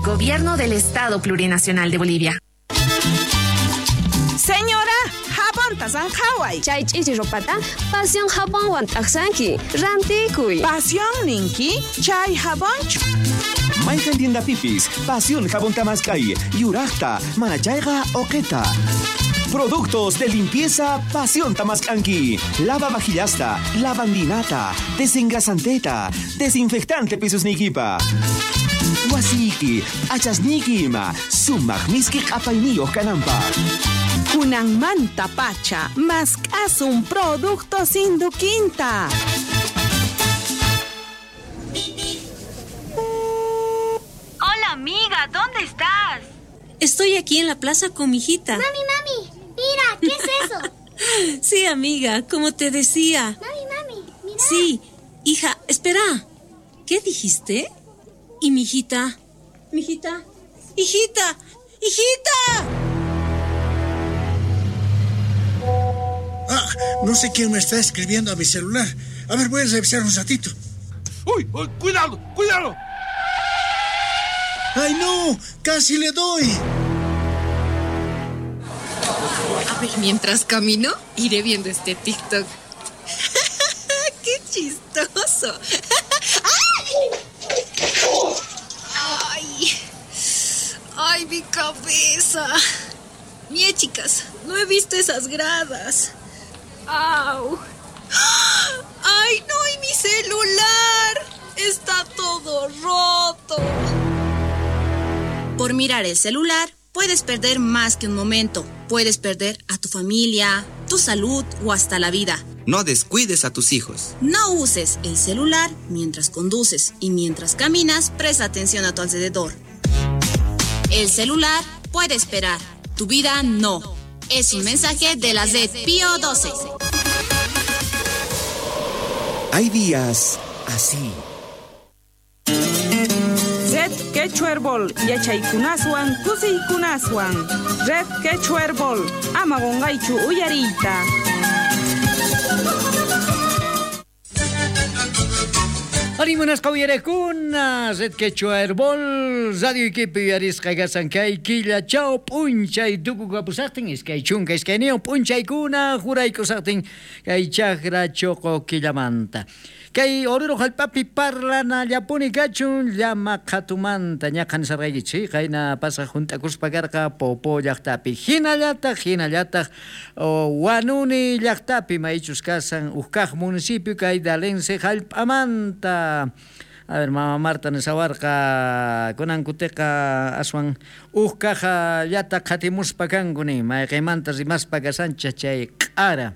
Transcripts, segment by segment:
Gobierno del Estado Plurinacional de Bolivia. Señora, jabonta zanjaway. Chay ch'ichi ropata Pasión jabonwan t'aqsanki. Rantikuy. Pasión ninki, chay jabonchu. Mayqan tiendapipis, Pasión jabón tamaskay, yuraqta, manachayqa oqeta. Productos de limpieza Pasión Tamaskanki. Lava vajillasta, lavandinata, desengrasanteta, desinfectante pisos nikipa. Wasiki, achasniki ima, sumaq miski q'apayniyuq kananpaq. Kunanmanta pacha, mask'asun productos Induquinta. Hola amiga, ¿dónde estás? Estoy aquí en la plaza con mi hijita. Mami, mami, mira, ¿qué es eso? Sí, amiga, como te decía. Mami, mami, mira. Sí, hija, espera. ¿Qué dijiste? ¿Y mi hijita? ¿Mi hijita? ¡Hijita! ¡Hijita! Ah, no sé quién me está escribiendo a mi celular. A ver, voy a revisar un ratito. ¡Uy! uy cuidado! ¡Cuidado! ¡Ay, no! ¡Casi le doy! A ver, mientras camino, iré viendo este TikTok. ¡Qué chistoso! ¡Ay! ¡Ay, mi cabeza! Mie, chicas, no he visto esas gradas. ¡Au! ¡Ay, no! ¡Y mi celular! ¡Está todo roto! Por mirar el celular, puedes perder más que un momento. Puedes perder a tu familia, tu salud o hasta la vida. No descuides a tus hijos. No uses el celular mientras conduces y mientras caminas, presta atención a tu alrededor. El celular puede esperar, tu vida no. Es un mensaje de la Red Pío 12. Hay días así. Red Quechua Herbol, yachaykunaswan, kusiykunaswan. Red Quechua Herbol, ama qunqaychu uyariyta. Arimunasqa uyarekuna, Red Quechua Herbol, Radio Iquipe uyarisqa kasan kay killa chaw p'unchay tukukapusaqtin, iskay chunka iskayniyuq p'unchaykuna juraykusaqtin kay chakra choqo killamanta. Kay Oruro jallp'api parlanallapuni kachun llama qhatumanta ñaqa nisarqaykichik qayna pasaq junt'akuspa karqa Popo llaqtapi hinallataq Huanuni llaqtapi maychus kasan huk kaq municipio kay Dalense jallp'amanta. A ver, mama Marta nisawarqa kunan kutiqa aswan huk kaqllata qhatimuspa kanku nin mayqinmanta rimaspa kasanchik chay q'ara.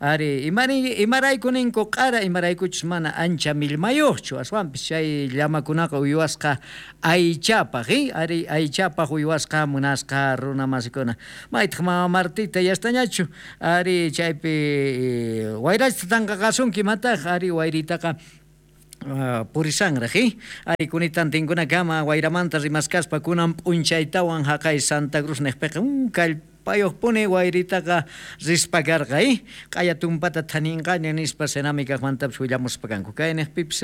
Ari, imarayku ninku q'ara, imaraykuchus mana ancha millmayuqchu, aswanpis chay llamakunaqa uywasqa aychapaq, ari aychapaq uywasqa munasqa runa masikuna. Maytaq mama Martita yastañachu, ari chaypi wayrachta tanqaqasunki mataq, ari wayritaqa purisanraq, ari kunitan tinkunakama wayramanta rimaskaspa kunan p'unchaytawan haqay Santa Cruz niqpiqa kallpayuqpuni wayritaqa rispa karqa, q'aya tumpata thaninqaña nispa cenámicajmantapis willamuspa kanku. Kay niqpipis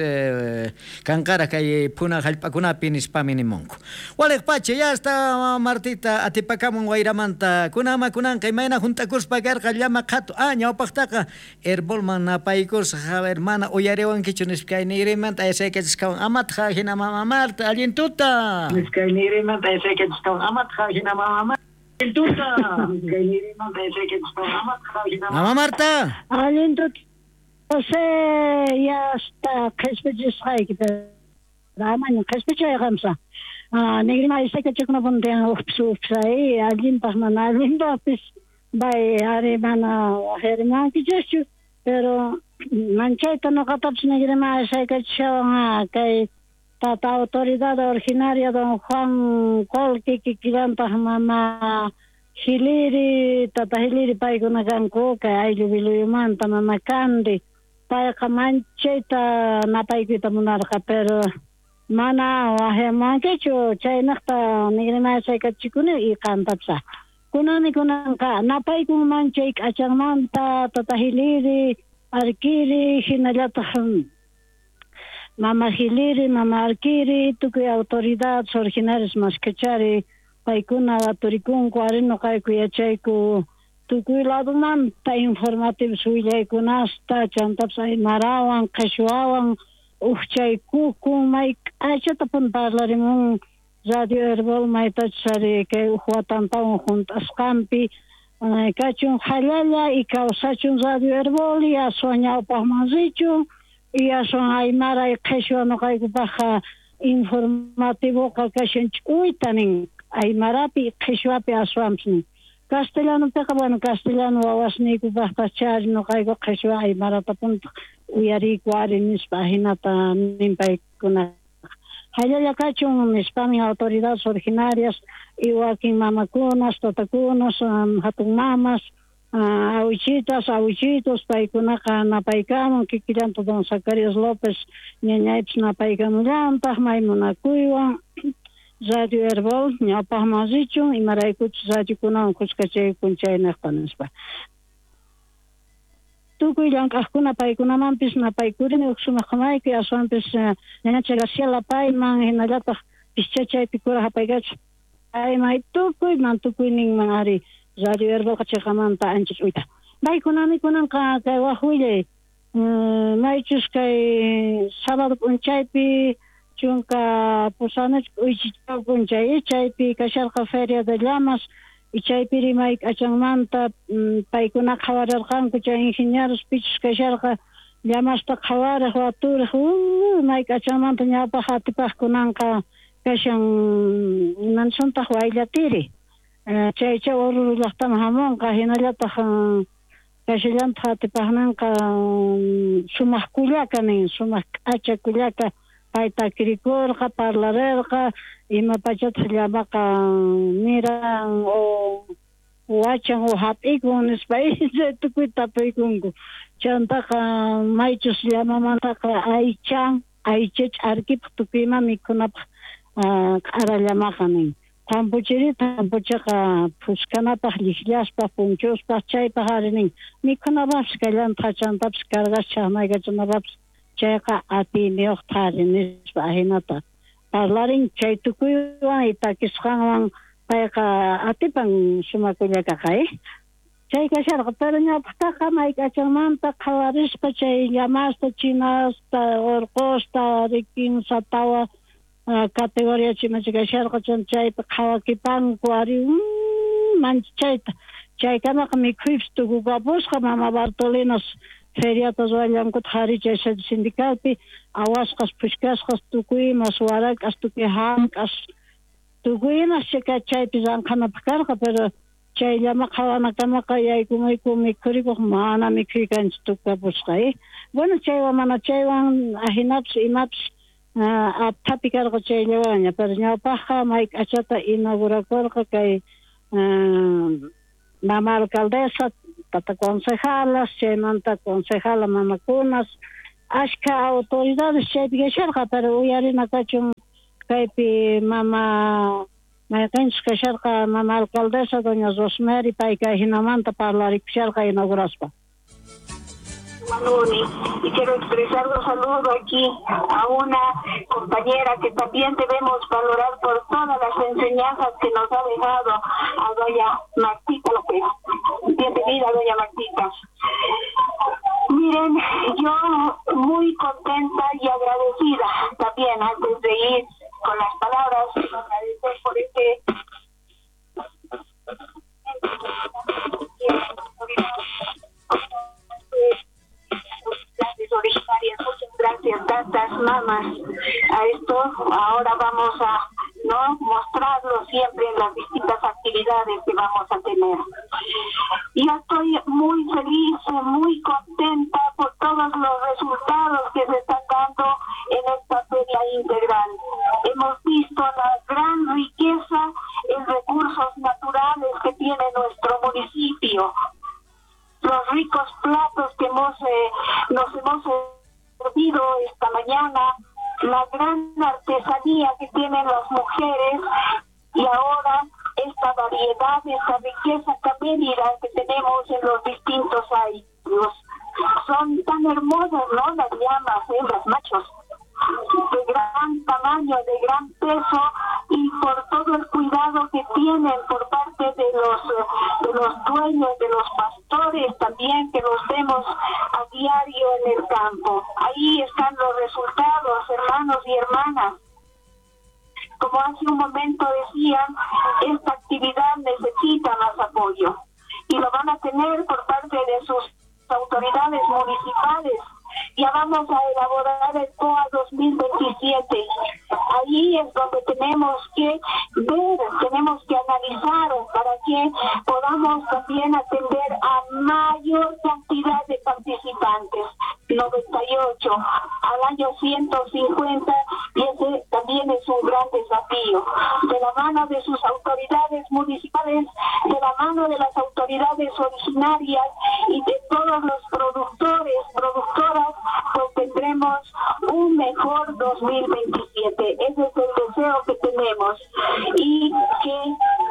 kanqara kay phuna jallp'akunapi nispami nimunku. Waliqpacha ya está Martita atipakamun wayramanta kunama kunanqa imayna junt'akuspa karqa llama qhatu. Ah, ñawpaqtaqa herbolman napaykusqa, a ver, mana uyariwankichu nispa kay niyrimanta aysaykachisqawan amatqa hina mama Marta allin tuta. Nispa kay niyrimanta aysaykachisqawan amatqa hina mama Marta. Mamá Marta. Allin tuta. José, ya está qhispichisqayki, amaña qhispichayqamsa. Nigrima aysaykachikunapuntiyan ujpis ujpis ahí, allinpaq mana allinpaqpis, bay ari mana wajarimankichischu, pero manchayta noqatapis nigrima aysaykachishawan kay tata autoridad originaria don Juan Colque kikillantaq mama Hiliri, tata Hiliri paykuna kanku kay ayllu Biluyumanta mama Kandi, payqa manchayta napaykuyta munarqa, pero mana wajyamankichu chaynaqta nigrima aysaykachikuni y qantapis. Kunani kunanqa napaykun manchay k'achanmanta tata Hiliri, Arkiri hinallataq Mama Giliri, Mama Alquiri, tukuy autoridades originarias maskachari, paykuna waturikunku, ari noqayku yachayku tukuy ladomanta informativos willaykunasta, chantapis aymarawan, qheshwawan, ujchaykukun, may k'achatapuni parlarimun Radio Herbol maytachus ari kay uj watantawan junt'asqanpi, kachun jallalla y kawsachun Radio Herbol y aswan ñawpaqman richun y aswan aymara y qheshwa noqaykupaqqa informativoqa kashan ch'uyta nin aymarapi y qheshwapi aswanpis nin. Castellanopiqa, bueno, castellano wawasniykupaqpas chari noqayku qheshwa aymaratapuntaq uyariyku ari nispa ajinata nin paykunaqa. Jallalla kachun nispamin autoridades originarias y wakin mamakunas, tatakunas, hatun mamas, awichitas, awichitos, paykunaqa napaykamun, kikillanta don Zacarías López ñañaypis napaykamullantaq, may munakuywan Radio Herbol ñawpaqman richun, imaraykuchus radiokunawan khuskachayku chaynejta nispa. Tukuy llank'aqkuna paykunamanpis napaykurini uj sumaq qomayku, aswanpis ñañacha Graciela payman, hinallataq pischachaypi kuraj apaykachaq payman, tukuyman tukuyninman ari Radio Herbolqa cheqamanta ancha ch'uyta. Maykunami kunanqa kay waj willay, maychus kay sábado p'unchaypi chunka pusanichka k'uychichaw p'unchay, chaypi kasharqa Feria de Llamas, y chaypi rimay k'achanmanta paykuna qhawararqanku chay ingenieros pichus kasharqa llamasta qhawarej waturej, may k'achanmanta ñawpaq atipaqkunanqa kashan imansuntaq wayllatiri, chaycha Oruro llaqtaman hamunqa, hinallataq kashallantaq atipaqninqa sumaq kullaka nin, sumaq k'acha kullaka, pay takirikurqa, parlarerqa, ima pachataq llamaqa miran o wachan o hap'ikun nispa chay tukuy tapuykunku. Chantaqa maychus llamamantaqa aycha, aycha ch'arkipaq tukuy ima mikhunapaq q'ara llamaqa nin. Tampuchiri, tampuchaqa phuskanapaq, llijllaspaq, punchuspaq, chaypaq ari nin. Mikhunapaqpis kallantaq, chantapis cargas chaqmaykachanapaqpis chayqa atiyniyuqta ari nispa ajinata parlarin chay tukuywan y takisqanwan payqa atipan sumakullakaqa, Chay kasharqa, pero ñawpaqtaqa may k'achanmanta qhawarispa chay llamasta, chinasta, urqusta, ari kinsa tawa categoría chimacha kasharqa, chaypi qhawakipanku ari manchayta. Chaykamaqa mikhuypis tukukapusqa, mama Bartolinas feriata ruwallankuta ari chay sede sindicalpi, awasqas, phushkasqas, tukuy imas, warak'as, tukuy hank'as, tukuy imas chaypi ranqhanapaq karqa, pero chay llama qhawanakamaqa yaykumuyku mikhurikuq mana mikhuykanchis tukukapusqa, Bueno, chaywan mana chaywan ajinapis imapis apthapi karqa chayllawanña, pero ñawpaqqa may k'achata inaugurakurqa kay mama alcaldesa, tata concejalas, chaymanta concejala mamakunas, ashkha autoridades chaypi kasharqa, pero uyarina kachun kaypi mama mayqinchus kasharqa mama alcaldesa doña Rosemary, pay kay hinamanta parlarikusharqa inauguraspa. Manuni, y quiero expresar un saludo aquí a una compañera que también debemos valorar por todas las enseñanzas que nos ha dejado, a doña Martita López. Bienvenida, doña Martita. Miren, yo muy contenta y agradecida también, antes de ir con las palabras, agradecer por este originarias. Muchas gracias, tantas mamás. A esto ahora vamos a no mostrarlo siempre en las distintas actividades que vamos a tener. Yo estoy muy feliz, muy contenta por todos los resultados que se están dando en esta feria integral. Hemos visto la gran riqueza en recursos naturales que tiene nuestro municipio, los ricos platos que nos hemos servido esta mañana, la gran artesanía que tienen las mujeres y ahora esta variedad, esta riqueza camélida que tenemos en los distintos años. Son tan hermosas, ¿no? Las llamas, hembras, machos. de gran tamaño, de gran peso, y por todo el cuidado que tienen por parte de los dueños, de los pastores también, que los vemos a diario en el campo. Ahí están los resultados, hermanos y hermanas. Como hace un momento decían, esta actividad necesita más apoyo y lo van a tener por parte de sus autoridades municipales. Ya vamos a elaborar el POA 2027. Ahí es donde tenemos que ver, tenemos que analizar para que podamos también atender a mayor cantidad de participantes. 98, al año 150, y ese también es un gran desafío. De la mano de sus autoridades municipales, de la mano de las autoridades originarias y de todos los productores, productoras, pues tendremos un mejor 2027. Ese es el deseo que tenemos. Y que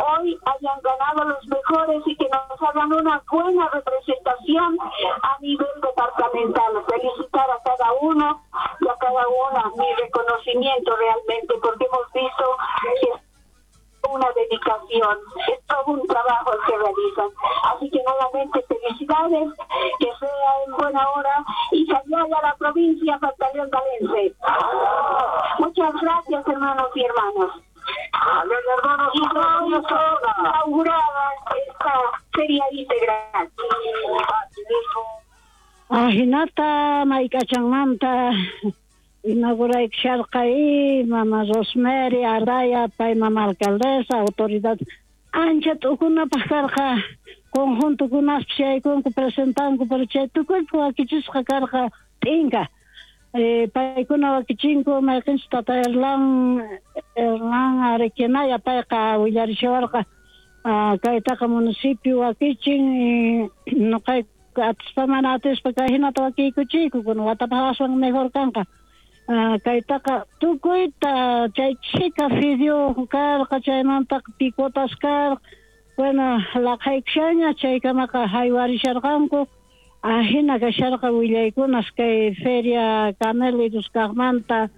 hoy hayan ganado los mejores y que nos hagan una buena representación a nivel departamental. Felicitar a cada uno y a cada una, mi reconocimiento realmente, porque hemos visto que es una dedicación, es todo un trabajo el que realizan. Así que nuevamente felicidades, que sea en buena hora y que vaya a la provincia Pantaleón Dalence. Muchas gracias, hermanos y hermanas. Y inaugurada esta feria integral. Ajinata mayk'achanmanta inauguraykusharqa mama Rosemary Araya pay mama alcaldesa autoridad ancha t'ukunapaq karqa conjuntokunaspis yaykunku presentanku, pero chay tukuypi wakichisqa karqa t'inka. Paykuna wakichinku mayqinchus tata Erlan Arequenaya payqa willarishawarqa kaytaqa municipio wakichin noqayku atispa mana atispa kay hinata wakiykuchiyku kuna watapaq aswan mejor kanqa. Kaytaqa tukuyta chay chhika fideo karqa, chaymantaqa picotas karqa, bueno laqhaykushaña chaykamaqa haywarisharqanku. Ajina kasharqa willaykunas kay feria camélidos kaqmanta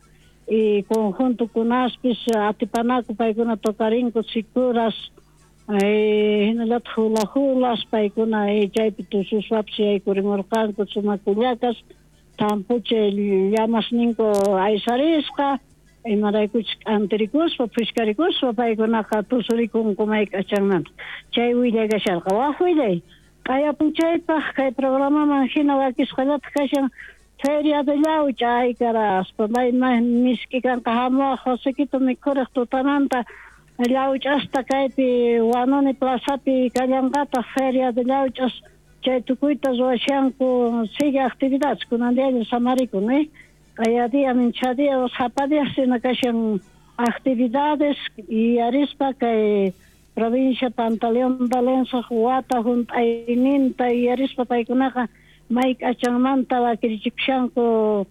y conjuntokunaspis atipanaku paykuna tocarinku sikuras hinallataq hula hulas paykuna chaypi tususwapis yaykurimurqanku sumakullakas tampuchay llamasninku aysarisqa imaraykuchus k'antirikuspa phushkarikuspa paykunaqa tusurikunku mayk'achanmanta. Chay willay kasharqa. Waj willay q'aya p'unchaypaq kay programaman hina wakisqallataq kashan Feria de Llaucha, ay caraspa may misk'i kanqa hamuwaq Josequito mikhuriq tutamanta llauch'asta kaypi Wanuni plazapi kallanqataq Feria de Llauch'as chay tukuyta ruwashanku sigue actividades kunan diaña samarikun q'aya día mincha día sapa día sina kashan actividades y arispa kay provincia Pantaleón Dalence wata hunt'ayninta y arispa paykunaqa mayk'achanmanta wakirichikushanku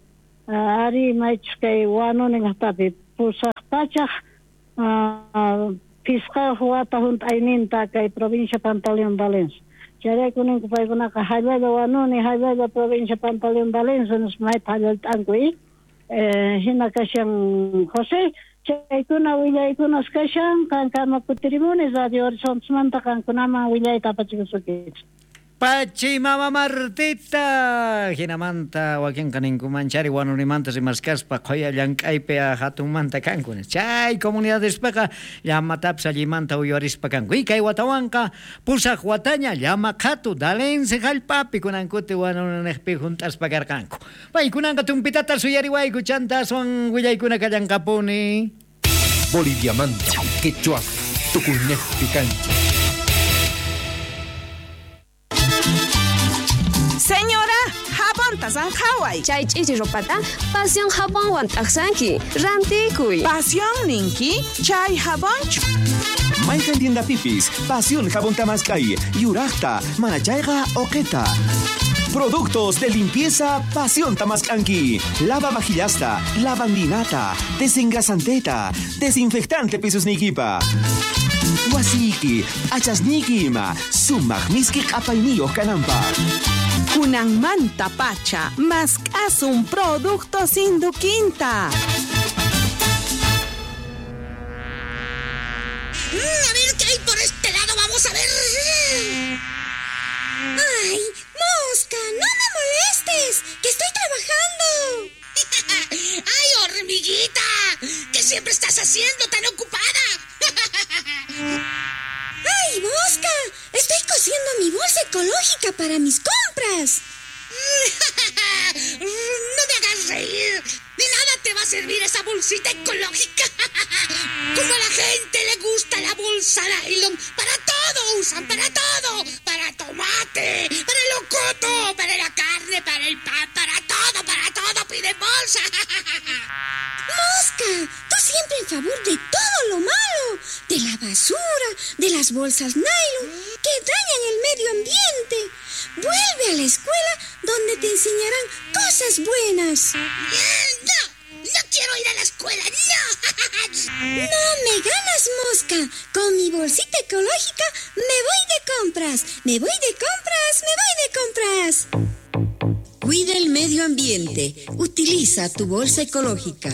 ari maychus kay Wanuni llaqtapi 805 wata hunt'ayninta kay provincia Pantaleón Dalence. Chayrayku ninku paykunaqa hallalla Wanuni, hallalla provincia Pantaleón Dalence nispa mayta hallalt'anku hina kashan José. Chaykuna willaykunas kashan qankama kutirimuni Radio Horizontesmanta qankunaman willayta apachikusuykichis. Pachi mama Martita hinamanta wakinqa ninkumanchari Wanunimanta rimaskaspa qhuya llank'aypi hatunmanta kanku chay comunidadespaqa llamatapis allimanta uywarispa kanku y kay watawanqa 8 wataña llama qhatu Dalence hallp'api kunankuti Wanuniniqpi hunt'aspa karqanku. Paykunanqa tumpitata suyariwayku chanta aswan willaykuna kallanqapuni. Boliviamanta quechua tukuynejpi kanchik. Señora, jabonta sanjaway. Chay ch'ichi ropata Pasión jabonwan t'aqsanki. Rantikuy. Pasión ninki, chay jabonchu. Mayqan tiendapipis, Pasión jabón tamask'ay, yuraqta, manachayqa uqita. Productos de limpieza Pasión tamask'anki. Lava vajillasta, lavandinata, desengrasanteta, desinfectante pisusniykipa. Wasiyki, achasniyki ima, sumaq miski q'apayniyuq kananpaq. Kunanmanta pacha, mask'asun productos Induquinta. A ver qué hay por este lado, vamos a ver. ¡Ay, mosca! ¡No me molestes! ¡Que estoy trabajando! ¡Ay, hormiguita! ¿Qué siempre estás haciendo tan ocupada? ¡Ay, mosca! Estoy cosiendo mi bolsa ecológica para mis compras. ¡No me hagas reír! De nada te va a servir esa bolsita ecológica. Como a la gente le gusta la bolsa nylon, para todo usan, para todo. Para tomate, para el locoto, para la carne, para el pan, para todo piden bolsa. ¡Mosca! Tú siempre en favor de todo lo malo, de la basura, de las bolsas nylon que dañan el medio ambiente. Vuelve a la escuela donde te enseñarán cosas buenas. ¡No! ¡No quiero ir a la escuela! ¡No! ¡No me ganas, mosca! Con mi bolsita ecológica me voy de compras. Me voy de compras, me voy de compras. Cuida el medio ambiente. Utiliza tu bolsa ecológica.